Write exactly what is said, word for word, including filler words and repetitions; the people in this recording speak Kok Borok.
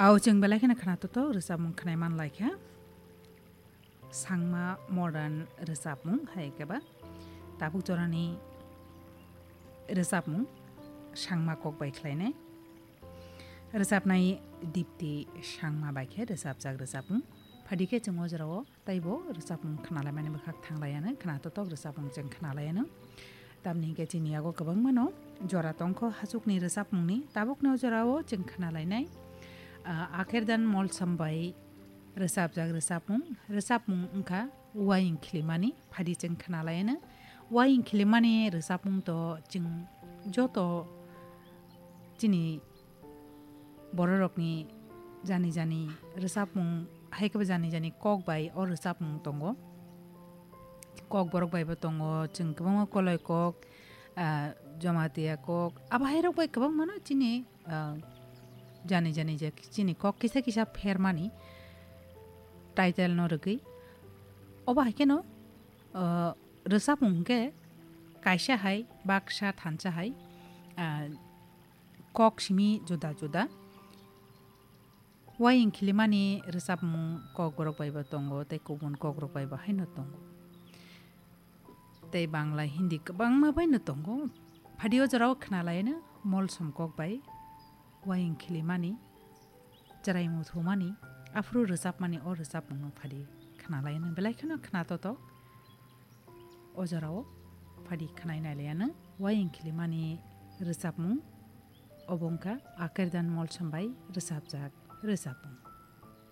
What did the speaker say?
Au chwng belai kheno khna toto rwchapmung khnai man lai kha. Sangma modern rwchapmung hai khe ba tabuk jorani rwchapmung Sangma kok bai khlainai. Rwchapnai Dipti Sangma bai khe rwchapjak rwchapmung. Phadi khe chwng o jorao taibo rwchapmung khnalaimani bwkhak thanglaiano, khna totok rwchapmung chwng khnalaiano. Tamni hwnkhe chini yago kwbangmano jora tongkho hachukni rwchapmungni, tabukni o jorao chwng khnalainai, ah, Akerdan Molsom bai rwchapjak rwchapmung. Rwchapmung wngkha Waying Khilimani, phadi chwng khnalaiano. Waying Khilimani rwchapmung to chwng joto chini bororokni jani jani rwchapmung, hai khe bo jani jani kok bai o rwchapmung tongo. Kokborok bai bo tongo, chwng kwbangma Koloi kok, ah, Jamatia kok, abo hai rok bai kwbangmano chini, ah, jani jani je chini kok kisa kisa phermani title no rwgwi. Obo hai kheno, ah, rwchapmung hwnkhe kaisa hai baksa thansa hai, ah, kok simi juda juda. Waying Khilimani rwchapmung kokborok bai bo tongo tei kubun kokrok bai bo haino tongo. Tei Bangla, Hindi kwbangma bai no tongo. Phadi o jorao khnalaino Molsom kok bai Waying Khilimani, chwrai muthumani, aphuru rwchapmani o rwchapmungno phadi khnalaino belai kheno khna totok. O jorao phadi khnai nailaiano Waying Khilimani rwchapmung, obo wngkha Akerdan Molsom bai rwchapjak rwchapmung.